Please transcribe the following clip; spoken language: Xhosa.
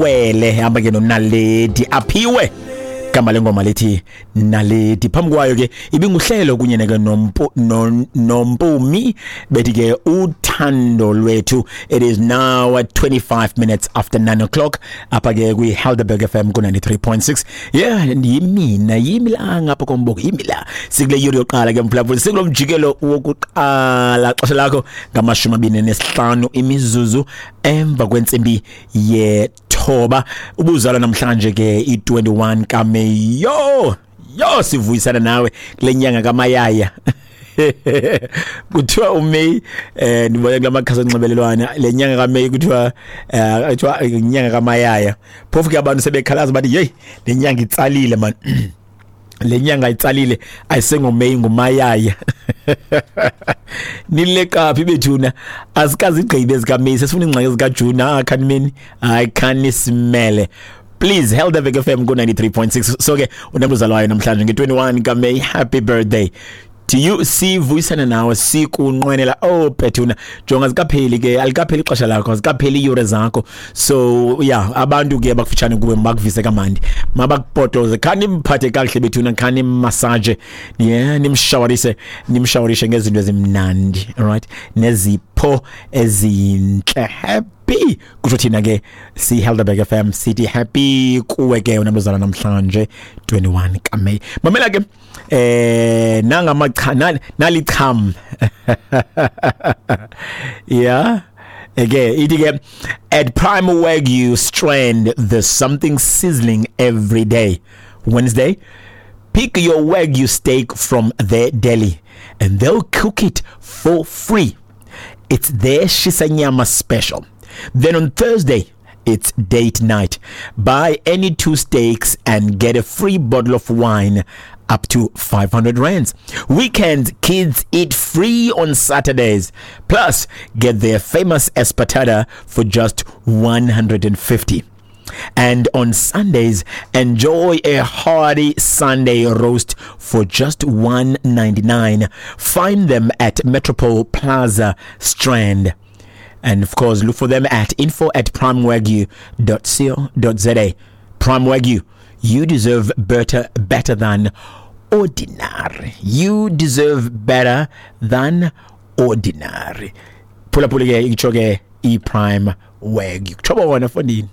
Wele hamba ke noNaledi Aphiwe, igama lengoma lithi Naledi. Phambi kwayo ke ibinguhlelo kunye neke noMpumi bethi ke Uthando Lwethu. It is now at 25 minutes after 9 o'clock apha ke kwi Helderberg FM ku 93.6. Yeah, yimina, yimi la ngapha komboko, yimi la. Sikule yuri yokuqala ke, mphulaphuli, sikulo mjikelo wokuqala. Xesha lakho ngama-25 imizuzu emva kwentsimbi ye-9. Ubuzalwa namhlanje ke, i-21 kaMeyi, yo yo, sivuyisana nawe kule nyanga kaMayaya. Kuthiwa uMay, ndibona kula makhasi onxibelelwano, le nyanga kaMay kuthiwa inyanga kaMayaya. Phofu ke abantu sebekhalaza, bathi, "Hey, le nyanga itsalile man, le nyanga itsalile, ayisengoMay, nguMayaya." Nileqaphi bethuna? Asikazigqibe ezikaMay, sesifuna ingxaki ezikaJune. Ah, khanimeni, hayi, khanisimele please. Helderberg FM ku 93.6. So ke unabuzalwayo namhlanje nge-21 kaMay, happy birthday to you, sivuyisana nawe, sikunqwenela. Oh bethuna, jonga, zikapheli ke, alikapheli ixesha lakho, zikapheli iiyure zakho. So yeah, abantu ke bakufutshane kuwe bakuvise kamandi, mabakupotoze, khani mphathe kakuhle bethuna, khani massage, yeah, nimshawarise, nimshawarishe ngezinto ezimnandi, alright, nezipho ezintle. Happy kusho thina ke si Helderberg FM, sithi happy kuwe ke unabuzala namhlanje 21 kaMay. Mamela ke, nangamacha nalicham, yeah. Eke ithi ke, at Prime Wagyu Strand there's something sizzling every day. Wednesday, pick your Wagyu steak from their deli and they'll cook it for free. It's their shisanyama special. Then on Thursday, it's date night. Buy any two steaks and get a free bottle of wine up to 500 rands. Weekends, kids eat free on Saturdays. Plus, get their famous espetada for just 150. And on Sundays, enjoy a hearty Sunday roast for just 199. Find them at Metropole Plaza, Strand. And of course, look for them at info@primewagyu.co.za. Prime Wagyu, you deserve better, better than ordinary. You deserve better than ordinary. Phulaphula ke, itsho ke i-Prime Wagyu. Kutsho bona, fondini.